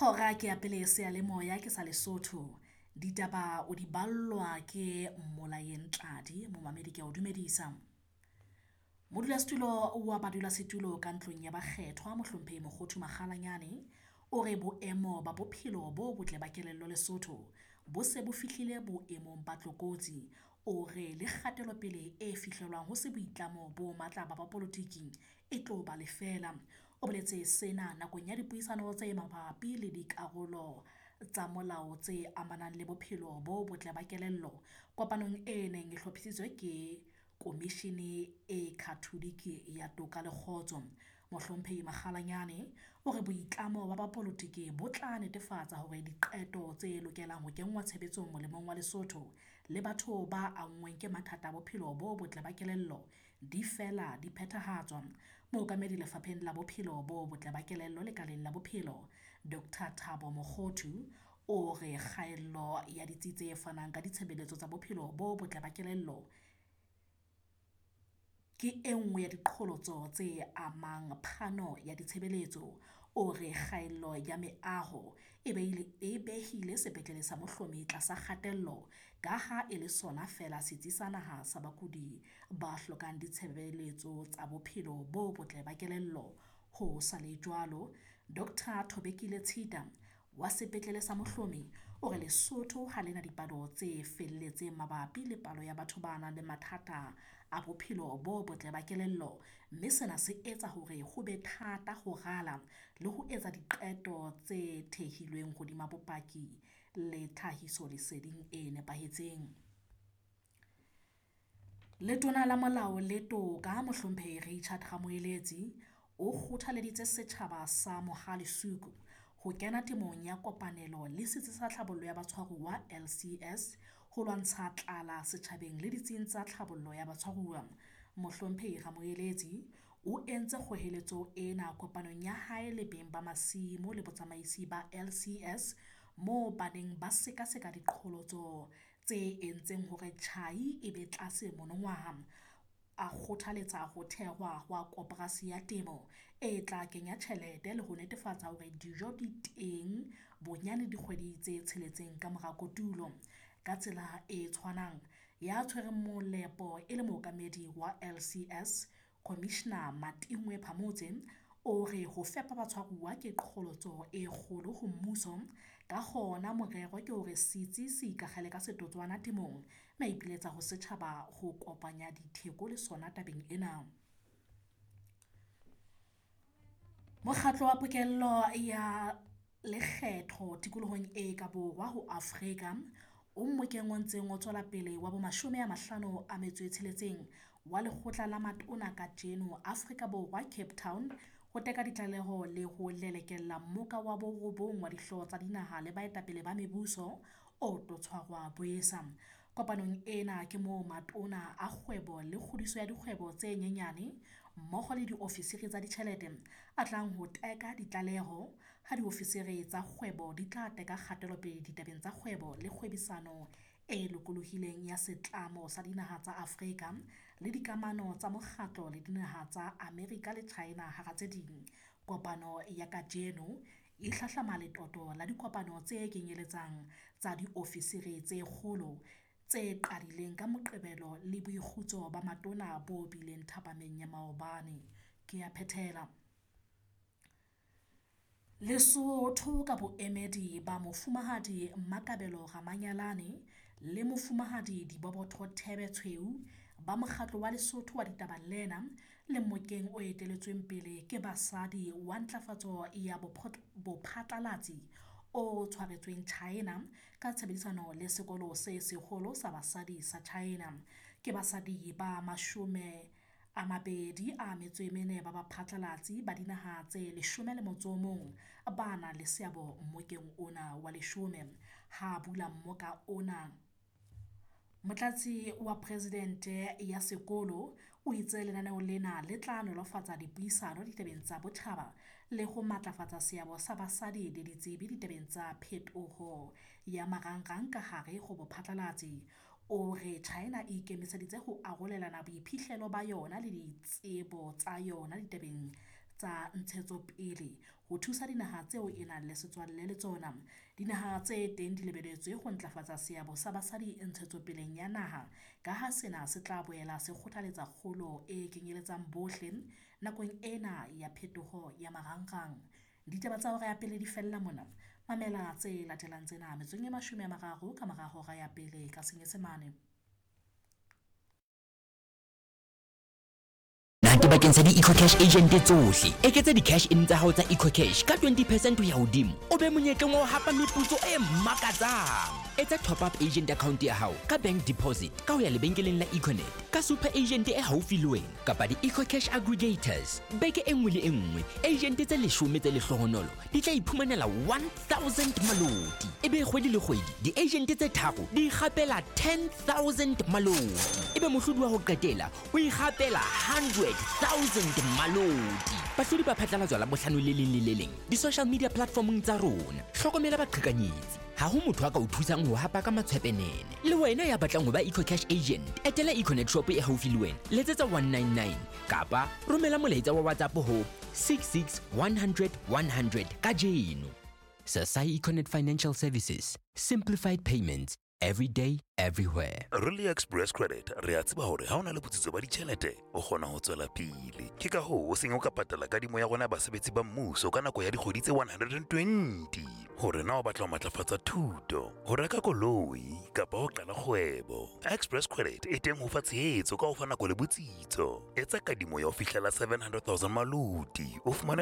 Hora ke ya pele seyalemoya ke sa Lesotho. Ditaba o di ballwa ke Mmolayeng Tladi, momamedi ke a o dumedisa. Modulasetulo wa badulasetulo ka ntlong ya bakgethwa Mohlomphehi Mokhothu Makgalanyane o re boemo ba bophelo bo botle ba kelello Lesotho bo se bo fihlile boemong ba tlokotsi. O re le kgatelopele e fihlelwang ho se boitlamo bo matla ba bapolotiki e tlo ba lefela. O boletse sena nakong ya dipuisano tse mabapi le dikarolo tsa molao tse amanang le bophelo bo botle ba kelello kopanong e neng e hlophisitswe ke Komishini e Khatholike ya Toka le Kgotso. Mohlomphehi Makgalanyane o re boitlamo ba bapolotiki bo tla netefatsa hore diqeto tse lokelang ho kenngwa tshebetsong molemong wa Lesotho le batho ba anngweng ke mathata a bophelo bo botle ba kelello di fela di phethahatswa. Mookamedi Lefapheng la Bophelo bo Botle ba Kelello Lekaleng la Bophelo, Dr Thabo Mokhothu o re kgaello ya ditsi tse fanang ka ditshebeletso tsa bophelo bo botle ba kelello ke e nngwe ya diqholotso tse amang phano ya ditshebeletso. O re kgaello ya meaho e behile sepetlele sa Mohlomi tlasa kgatello ka ha e le sona feela setsi sa naha sa bakudi ba hlokang ditshebeletso tsa bophelo bo botle ba kelello. Ho sa le jwalo, Dr Thobekile Tshita wa sepetlele sa Mohlomi o re Lesotho ha lena dipalo tse felletseng mabapi le palo ya batho ba nang le mathata a bophelo bo botle ba kelello, mme sena se etsa hore ho be thata ho rala le ho etsa diqeto tse thehilweng hodima bopaki le tlhahisoleseding e nepahetseng. Letona la Molao le Toka Mohlomphehi Richard Ramoeletsi o kgothaleditse setjhaba sa Mohale'shoek ho kena temong ya kopanelo le Setsi sa Tlhabollo ya Batshwaruwa LCS ho lwantsha tlala setjhabeng le ditsing tsa tlhabollo ya batshwaruwa. Mohlomphehi Ramoeletsi o entse kgoeletso ena kopanong ya hae le beng ba masimo le botsamaisi ba LCS moo ba neng ba sekaseka diqholotso tse entseng hore tjhai e be tlase monongwaha. A kgothaletsa ho thehwa hwa koporasi ya temo e tla kenya tjhelete le ho netefatsa hore dijo di teng bonyane dikgwedi tse tsheletseng ka mora kotulo. Ka tsela e tshwanang, ya tshwereng molepo e le mookamedi wa LCS, Khomishna Matingwe Phamotse o re ho fepa batshwaruwa ke qholotso e kgolo ho mmuso, ka hona morero ke hore setsi se ikakgele ka setotswana temong mme a ipiletsa ho setjhaba ho kopanya ditheko le sona tabeng ena. Mokgatlo wa Pokello ya Lekgetho tikolohong e ka Borwa ho Afrika o mmokeng o ntseng o tswela pele wa bo 56 wa Lekgotla la Matona kajeno Afrika Borwa, Cape Town, ho teka ditlaleho le ho lelekela Mmoka wa borobong wa Dihlooho tsa Dinaha le Baetapele ba Mebuso o tlo tshwarwa Bowesa. Kopanong ena ke moo Matona a Kgwebo le Kgodiso ya Dikgwebo tse Nyenyane mmoho le diofisiri tsa ditjhelete a tlang ho teka ditlaleho, ha diofisiri tsa kgwebo di tla teka kgatelopele ditabeng tsa kgwebo le kgwebisano e lokolohileng ya Setlamo sa Dinaha tsa Afrika le dikamano tsa mokgatlo le dinaha tsa Amerika le China hara tse ding. Kopano ya kajeno e hlahlama letoto la dikopano tse kenyeletsang tsa diofisiri tse kgolo tse qadileng ka Moqebelo le boikgutso ba matona bo bileng thapameng ya maobane. Ke a phethela. Lesotho ka boemedi ba Mofumahadi Makabelo Ramanyalane le Mofumahadi Dibobotho Thebe-Tshweu ba Mokgatlo wa Lesotho wa Ditaba lena le mmokeng o etelletsweng pele ke basadi wa ntlafatso ya bophatlalatsi o tshwaretsweng China ka tshebedisano le Sekolo se Seholo sa Basadi sa China. Ke basadi ba 24 ba baphatlalatsi ba dinaha tse 11 ba nang le seabo mmokeng ona wa leshome. Ha bula mmoka ona, Motlatsi wa Presidente ya sekolo o itse lenaneo lena le tla nolofatsa dipuisano ditabeng tsa botjhaba le ho matlafatsa seabo sa basadi le ditsebi ditabeng tsa phetoho ya marangrang ka hare ho bophatlalatsi. O re China e ikemiseditse ho arolelana boiphihlelo ba yona le ditsebo tsa yona ditabeng tsa ntshetsopele ho thusa dinaha tseo e nang le setswalle le tsona. Dinaha tse teng di lebeletswe ho ntlafatsa seabo sa basadi ntshetsopeleng ya naha ka ha sena se tla boela se kgothaletsa kgolo e kenyeletsang bohle nakong ena ya phetoho ya marangrang. Ditaba tsa hora ya pele di fella mona. Mamela tse latelang tsena metsotsong e 30 ka mora hora ya pele ka Senyesemane. Na ke bakeng sa di-EcoCash agent tsohle. Eketsa di-cash in tsa hao tsa EcoCash ka 20 percent ho ya hodimo, o be monyetleng wa ho hapa meputso e makatsang. Etsa top up agent account ya hao ka bank deposit ka ho ya lebenkeleng la Econet, ka super agent e haufi le wena kapa di-EcoCash aggregators. Beke e nngwe le e nngwe, agent tse 10 tse lehlohonolo di tla iphumanela 1000 maloti. Ebe kgwedi le kgwedi, di-agent tse tharo di ikgapela 10 000 maloti. Ebe mohlodi wa ho qetela o ikgapela 100 000 maloti. Bahlodi ba phatlalatswa Labohlano le leng le le leng di-social media platformong tsa rona. Hlokomela baqhekanyetsi. Ha ho motho a ka o thusang ho hapa ka matshwepenene. Le wena ya batlang ho ba EcoCash agent, etela Econet shop e haufi le wena, letsetsa 199 kapa romela molaetsa wa WhatsApp ho 66 100 100 kajeno. Sasai Econet Financial Services. Simplified payments. Every day, everywhere. Re le Express Credit re a tseba hore ha o na le botsitso ba ditjhelete, o kgona ho tswela pele. Ke ka hoo o seng o ka patala kadimo ya rona ya basebetsi ba mmuso ka nako ya dikgwedi tse 120. Hore na o batla ho matlafatsa thuto, ho reka koloi kapa ho qala kgwebo, Express Credit e teng ho fa tshehetso ka ho fa nako le botsitso. Etsa kadimo ya ho fihlela 700 000 maloti, o fumane